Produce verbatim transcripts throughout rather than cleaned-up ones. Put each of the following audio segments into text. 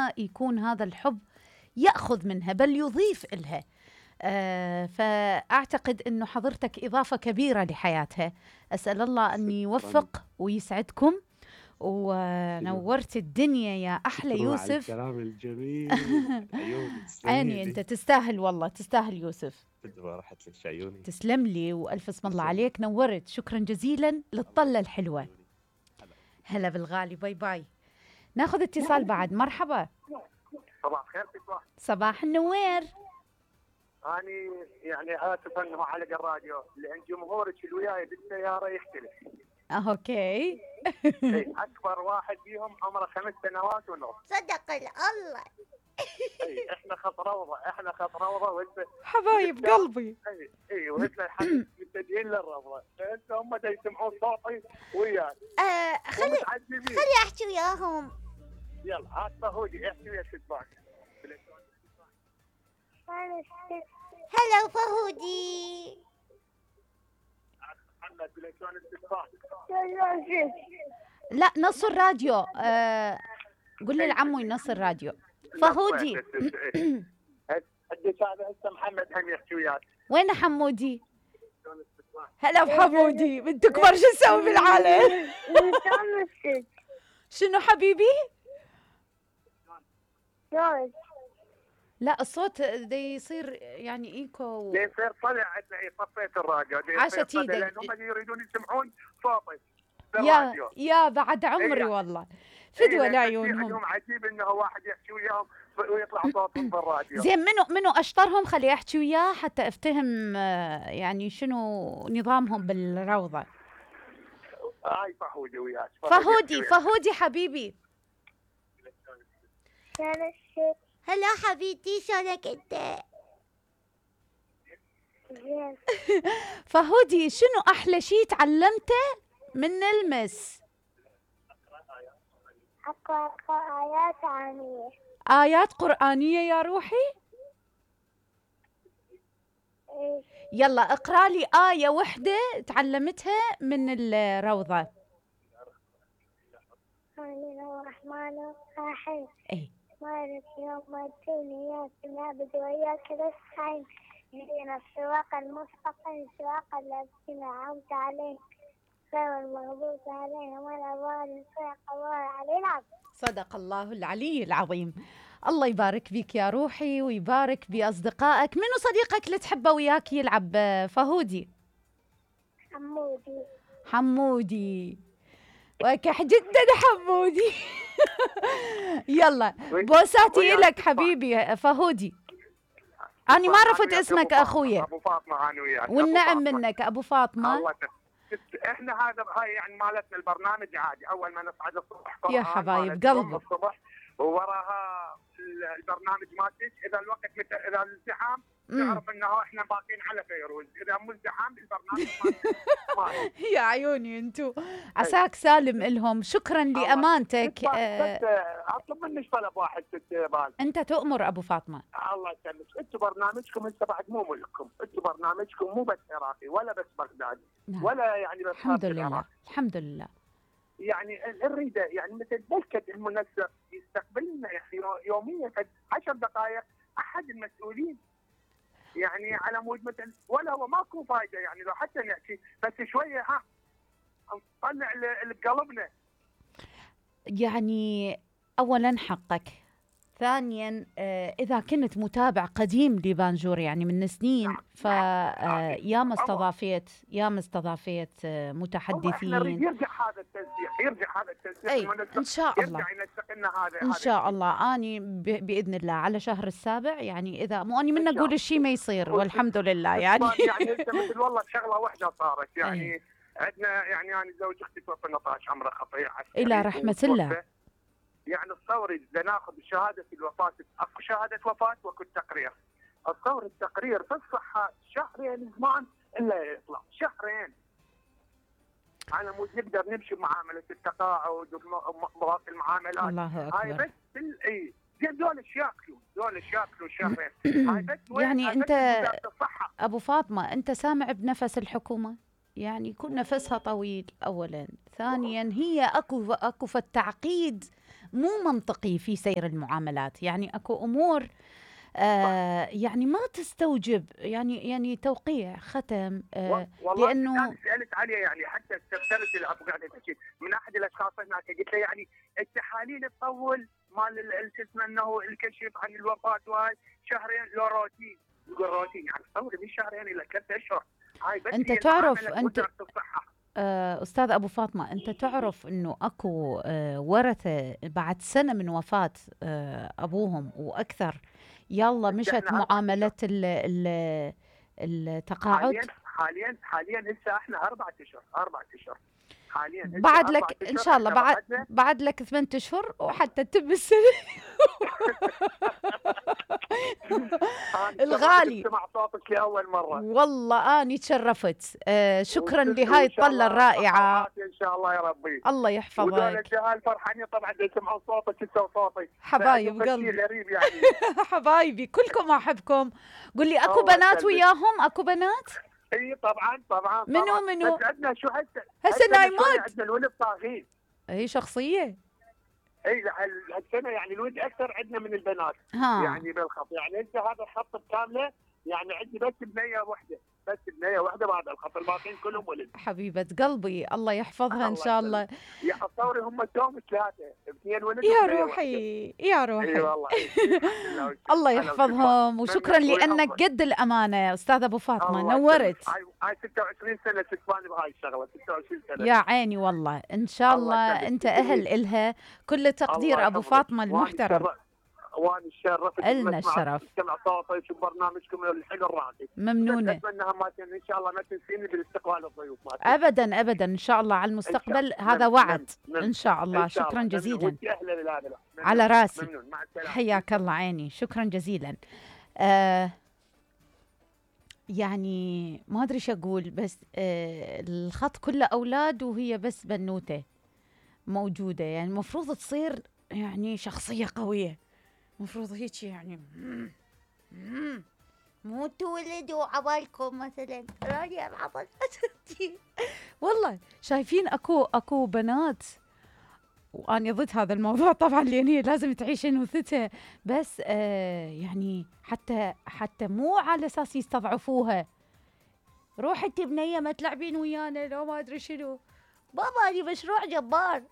ما يكون هذا الحب يأخذ منها بل يضيف إلها. آه فأعتقد أنه حضرتك إضافة كبيرة لحياتها. أسأل الله أن يوفق ويسعدكم، ونورت الدنيا يا أحلى يوسف. على الكلام الجميل. عيني أنت تستاهل، والله تستاهل يوسف. راحت لك عيوني. تسلم لي وألف اسم الله عليك، نورت. شكرا جزيلا للطلة الحلوة. هلا بالغالي، باي باي. ناخذ اتصال بعد. مرحبا. صباح الخير. صباح النوير. أنا يعني آسف أنه علق الراديو لأن جمهورك اللي وياي بالسيارة يختلف. أوكي. أكبر واحد فيهم عمره خمس سنوات ونص. صدق الله. اي احنا خط روضه، احنا خط روضه وانت حبايب قلبي. اي اي وانت الحين متجهين للروضه، فانت هم دا يسمعون صوتي وياك. آه خلي خلي احكي وياهم. يلا هات فهودي احكي ويا الشباك. هلا فهودي. محمد بليتون الشباك. لا نص الراديو. آه قول لي لعمو ينص الراديو. فهودي. اديك هذا هسه محمد هم يحكي وياك. وين حمودي؟ هلا بحمودي. بنت كبر شو نسوي بالعالم؟ شنو حبيبي؟ لا الصوت دا يصير يعني ايكو. دا يصير طلع عندنا صفيت الراديو. عاشت ايدك. لان هم يريدون يسمعون صوتي. يا يا بعد عمري والله. فدوى لعيونهم. عندهم عجيب انه واحد يحكي وياهم ويطلع صوتهم بالراديو. زين منو منو اشطرهم خلي احكي وياه حتى افتهم يعني شنو نظامهم بالروضه. هاي فهودي وياك. فهودي فهودي حبيبي. هلا حبيبتي شلونك انت؟ فهودي شنو احلى شيء تعلمته من المس؟ أقرأ آيات قرآنية. آيات قرآنية يا روحي؟ إيه. يلا اقرأ لي آية وحدة تعلمتها من الروضة. بسم الله الرحمن الرحيم. إيه. مالك يوم الدين إياك نعبد وإياك نستعين اهدنا الصراط المستقيم صراط الذين أنعمت عليهم غير المغضوب عليهم ولا الضالين صدق الله العلي العظيم. صدق الله العلي العظيم. الله يبارك بك يا روحي ويبارك بأصدقائك. منو صديقك اللي تحبه وياك يلعب فهودي؟ حمودي. حمودي وكح جدا حمودي. يلا بوساتي لك حبيبي فهودي. أنا ما عرفت اسمك أخويا. أبو فاطمة أنا وياك. والنعم منك أبو فاطمة. الله احنا هذا هاي يعني مالتنا البرنامج عادي. اول ما نصعد الصبح يا حبايب قلبي الصبح ووراها البرنامج مالتك. اذا الوقت مت... اذا الازدحام تعرف انه احنا باقين على فيروز. اذا مو ازدحام البرنامج مالتك. يا عيوني انتو عساك سالم الهم. شكرا لامانتك. اطلب منك طلب واحد ست بال. انت تؤمر ابو فاطمه. الله يسلمك. انتم برنامجكم انت بعد مو ملككم. انتم برنامجكم مو بس عراقي ولا بس بغدادي. نعم. ولا يعني بس الحمد لله. الحمد لله. يعني نريده يعني مثل بلكة المنسق يستقبلنا يعني يوميا عشر دقائق احد المسؤولين يعني على مود مثل ولا هو ماكو فايده يعني لو حتى نحكي بس شويه ها نطلع لقلبنا. يعني اولا حقك. ثانيا إذا كنت متابع قديم لبانجور يعني من سنين فياما استضافيت ياما استضافيت متحدثين. يرجع هذا التنسيق يرجع هذا التنسيق أي إن شاء الله يرجع ينسق لنا هذا إن شاء الله. أني بإذن الله على شهر السابع يعني إذا مو أني من أقول الشيء ما يصير والحمد لله يعني. يعني مثل والله شغلة واحدة صارت يعني أي. عندنا يعني أنا زوج أختي توفى ثمانية عشر عمره خطير إلى رحمة الله. يعني الصوري إذا ناخذ شهادة الوفاة أكو شهادة وفاة وأكو التقرير. الصور التقرير في الصحة شهرين زمان إلا يطلع شهرين على مود نقدر نمشي بمعاملة التقاعد ومقبضات المعاملات. الله أكبر. هاي بس اي زين دول ياكلوا دول ياكلوا شهرين. هاي بس يعني أنت أبو فاطمة أنت سامع بنفس الحكومة يعني يكون نفسها طويل أولا. ثانيا هي أكو أكو في التعقيد مو منطقي في سير المعاملات. يعني اكو امور آه يعني ما تستوجب يعني يعني توقيع ختم آه والله لانه انا سالت عليه، يعني حتى استفسرت الابو قاعده تحكي من احد الاشخاص هناك، قلت له يعني التحاليل تطول مال شو اسمه انه الكشف عن الوفاه وهاي شهرين لو روتين، يقول روتين يعني تصور من شهرين الى ثلاث اشهر. هاي بس انت هي تعرف المعاملة انت وزارة الصحه. آه استاذ ابو فاطمه، انت تعرف انه اكو آه ورثه بعد سنه من وفاه آه ابوهم واكثر يلا مشت احنا أربعة معامله ال ال التقاعد. حاليا حاليا حاليا هسه احنا اربع اشهر اربع اشهر حاليا هسه بعد أربعة لك ان أشهر شاء الله إحنا بعد بعدنا. بعد لك ثمانية اشهر وحتى تتم السنه. أنا الغالي. سمع صوتك لاول مره. والله اني تشرفت. آه شكرا وإن لهاي شاء الطله الله الرائعه. صحة ان شاء الله يا ربي. الله ودول يحفظك. الجهال فرحانين طبعا يسمعون صوتك انت وصوتي. حبايب فعندهم قلبي. شيء غريب يعني. حبايبي كلكم احبكم. قل لي اكو الله بنات يسلمك. وياهم؟ اكو بنات؟ اي طبعا طبعا منو طبعاً. منو؟ بس عندنا شو هسه هسه نايمات. عندنا الولد طاغين. هي شخصيه. اي هال- هالسنه يعني الولد اكثر عندنا من البنات. ها يعني بالخط، يعني انت هذا الخط كامله يعني عندي بس بنيه واحده، بس بنيه واحده بهذا الخط، الباقيين كلهم ولد. حبيبه قلبي الله يحفظها ان الله شاء الله. يا تصوري هم توم ثلاثه، اثنين ولد يا وبنية روحي يا واحدة. اي روحي. والله إي. الحمد لله والشكر. الله هلا يحفظهم وسهلا. وشكرا منك لانك ويحفظك. قد الامانه يا استاذ ابو فاطمه. الله نورت. يسلمك. هاي هاي ستة وعشرين سنه تكفاني بهاي الشغله، ستة وعشرين سنه. يا عيني والله ان شاء الله الله يسلمك. انت اهل الها. كل تقدير الله ابو يحفظك. فاطمه وأنا المحترم. الشرف- وانا الشرف إلنا الشرف. سمع صوتك وبرنامجكم الحلو الراقي. ممنونه. اتمنى ما تن- ان شاء الله ما تنسيني بالاستقبال الضيوف مالتك. ابدا ابدا ان شاء الله على المستقبل. إن شاء- هذا مم- وعد مم- ان شاء الله. إن شاء شكرا الله. جزيلا. وانت اهلا بالهذا. ممنون. على راسي. ممنون. مع السلامه. حياك الله عيني. شكرا جزيلا. آه يعني ما ادري ايش اقول، بس آه الخط كله اولاد وهي بس بنوته موجوده. يعني المفروض تصير يعني شخصيه قويه، المفروض هيك يعني مو تولدوا عبالكم مثلا راجع العبال. والله شايفين اكو اكو بنات، وأنا ضد هذا الموضوع طبعا لأن هي لازم تعيش انوثتها، بس آه يعني حتى حتى مو على اساس يستضعفوها. روحي انت بنيه ما تلعبين ويانا لو ما ادري شنو. بابا لي مشروع جبار.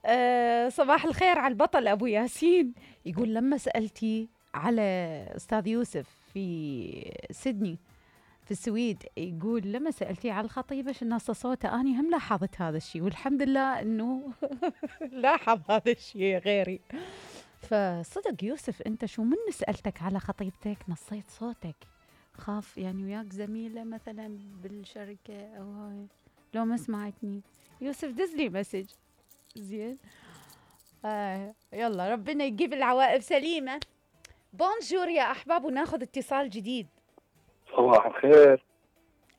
آه صباح الخير على البطل ابو ياسين. يقول لما سالتي على استاذ يوسف في سيدني في السويد، يقول لما سالتي على الخطيبه شو الناس صوته، اني هم لاحظت هذا الشيء والحمد لله انه لاحظ هذا الشيء غيري. فصدق يوسف انت شو من سالتك على خطيبتك نصيت صوتك، خاف يعني وياك زميله مثلا بالشركه او هاي لو ما سمعتني. يوسف دز لي مسج زين. آه يلا ربنا يجيب العواقب سليمه. بونجور يا احباب وناخذ اتصال جديد. صباح الخير.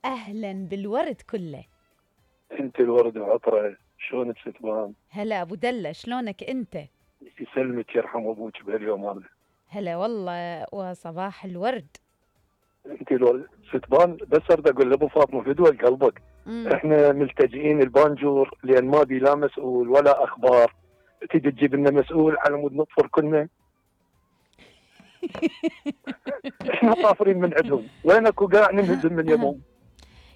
اهلا بالورد كله. انت الورد العطره، شلونك ستبان؟ هلا ابو دله شلونك انت؟ يسلمك يرحم ابوك بهاليوم هذا. هلا والله وصباح الورد. انت الورد ستبان، بس اريد اقول لابو فاطمه فدوى قلبك. مم. احنا ملتجئين البانجور لان ما بي لا مسؤول ولا اخبار، تجي تجيب لنا مسؤول على مود نطفر كلنا. احنا طافرين من عندهم، وين اكو قاع ننهزم من يمهم.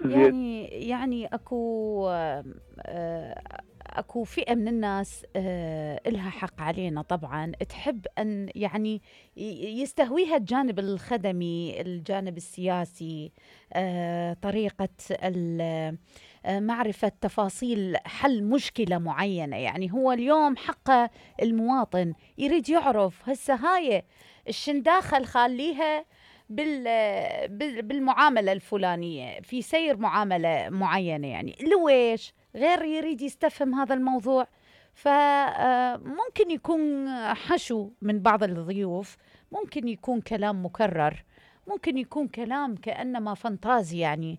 زين. يعني يعني اكو آه، اكو فئه من الناس آه، الها حق علينا طبعا، تحب ان يعني ي- يستهويها الجانب الخدمي، الجانب السياسي، آه، طريقه ال- آه، معرفه تفاصيل حل مشكله معينه. يعني هو اليوم حق المواطن يريد يعرف هسه هاي الشنداخه خاليها بال بال- بالمعامله الفلانيه في سير معامله معينه، يعني لويش غير يريد يستفهم هذا الموضوع. فممكن يكون حشو من بعض الضيوف، ممكن يكون كلام مكرر، ممكن يكون كلام كأنما فانتازي يعني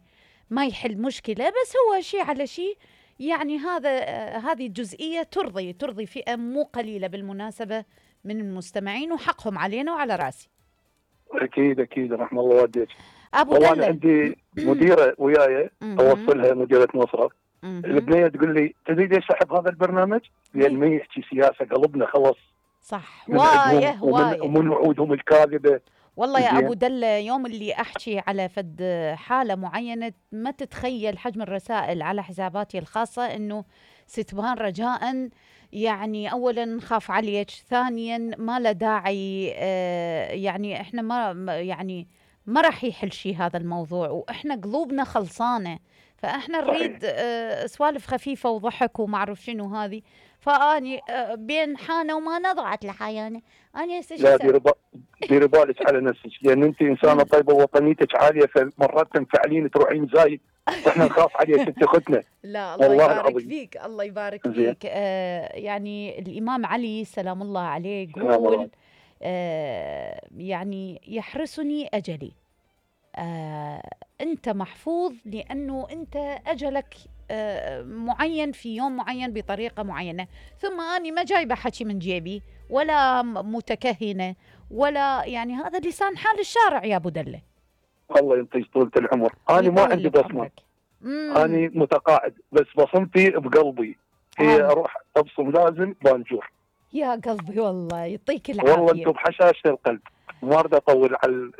ما يحل مشكلة، بس هو شيء على شيء. يعني هذا آه، هذه الجزئية ترضي ترضي فئة مو قليلة بالمناسبة من المستمعين، وحقهم علينا وعلى راسي. اكيد اكيد رحم الله والديك. ابو والله انا دله. عندي مديره وياي مهم. اوصلها مديره مصرف، مهم. البنيه تقول لي تدري ليش احب هذا البرنامج؟ لان ما يحكي سياسه قلبنا خلص صح، من عندهم هوايه ومن, هوايه. ومن وعودهم الكاذبه. والله يا زين. ابو دله، يوم اللي احكي على فد حاله معينه ما تتخيل حجم الرسائل على حساباتي الخاصه انه ستبان رجاء، يعني اولا نخاف عليك، ثانيا ما له داعي، آه يعني احنا ما ما- يعني ما راح يحل شيء هذا الموضوع، واحنا قلوبنا خلصانه، فاحنا نريد آه سوالف خفيفه وضحك وما اعرف شنو هذه. فاني آه بين حانه وما نضعت لحيانه. انا هسه شو لا أسوي؟ ديري با- ديري بالك على نفسك، لان انت انسانه طيبه ووطنيتك عاليه، فمرات تنفعلين تروحين زايد واحنا نخاف عليك انت اختنا. لا الله والله يبارك العظيم. فيك، الله يبارك زين. فيك. آه يعني الإمام علي سلام الله عليه سلام الله. يقول آه يعني يحرسني أجلي. آه أنت محفوظ لأنه أنت أجلك آه معين في يوم معين بطريقة معينة. ثم أنا ما جايبة حكي من جيبي ولا م- متكهنة، ولا يعني هذا لسان حال الشارع يا أبو دلة. الله ينطيك طولة العمر. انا ما ويطول عندي بصمه، بعمرك. مم. انا متقاعد، بس بصمتي بقلبي هي آه. اروح ابصم لازم بانجور. يا قلبي والله يعطيك العافية. والله انتم بحشاشه القلب، ما اريد اطول على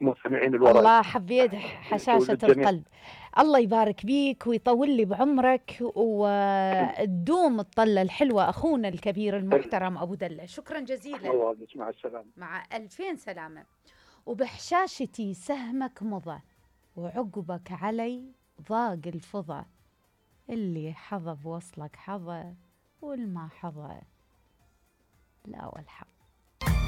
المستمعين الوراي. الله حبيت حشاشة الجميع. القلب. الله يبارك بيك ويطول لي بعمرك وتدوم الطلة الحلوة أخونا الكبير المحترم أبو دلة. شكرا جزيلا. الله يعافيك، مع السلامه. مع ألفين سلامة. وبحشاشتي سهمك مضى، وعقبك علي ضاق الفضى، اللي حظى بوصلك حظى، والما حظى لا والحظ.